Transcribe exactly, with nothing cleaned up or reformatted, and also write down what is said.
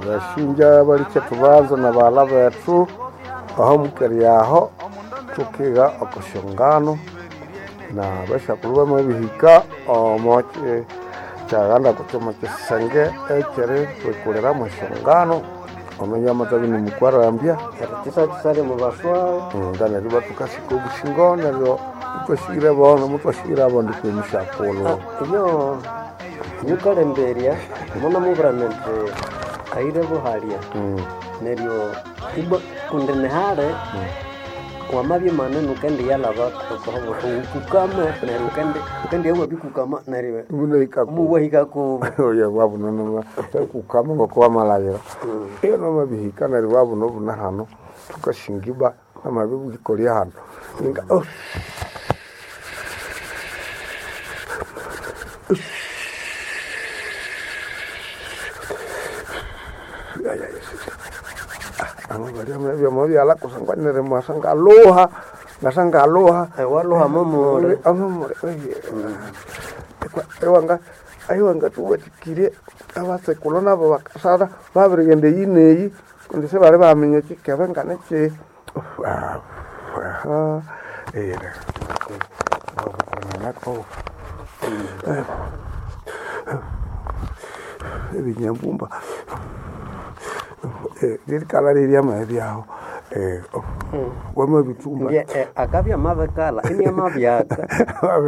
Basinja balikye thubanza nabaghalha bethu aho mukeri aho thukiga oko syongano na basyakulhu bamabihika omo kyi- kyaghanda kutse omo kyisenge ekyeritwikuliramu esyongano omunya amatabya inimukwarambya Erikyisakyisalya omu baswaga nga neryo ibathukasika obusingo neryo ithwasighira bono muthwasighira abondi kwe musyakulhu Iyo nyukalemberya munamubwira nindi ayire buhalya Mm. neryo ibwa kundi nihali wamabya manene ukendiya-lhaba wukukama neryo ukendi ukendiya wabikukama neryo Munahika ku- muwahika kubo oya wabunonoma kukama ngoko wamalabira iyo nomabihika neryo wabuna obuna hano thukasingiba namabibwikolya hano ninga oh. amabalya kusangwa neryo mwasa ngaluha ngasa ngaluha Ewaluha momole amamure ewanga aiwanga tuwatikire abatsekulhu nabo bakasara babirighenda eyi neyi kundi sibali baminya ekikebe nganiki ebinyambumba lirikala liryamabyaho wamabithumba Ndiye eh, akabya mabikalha imyamabyaka Wabi-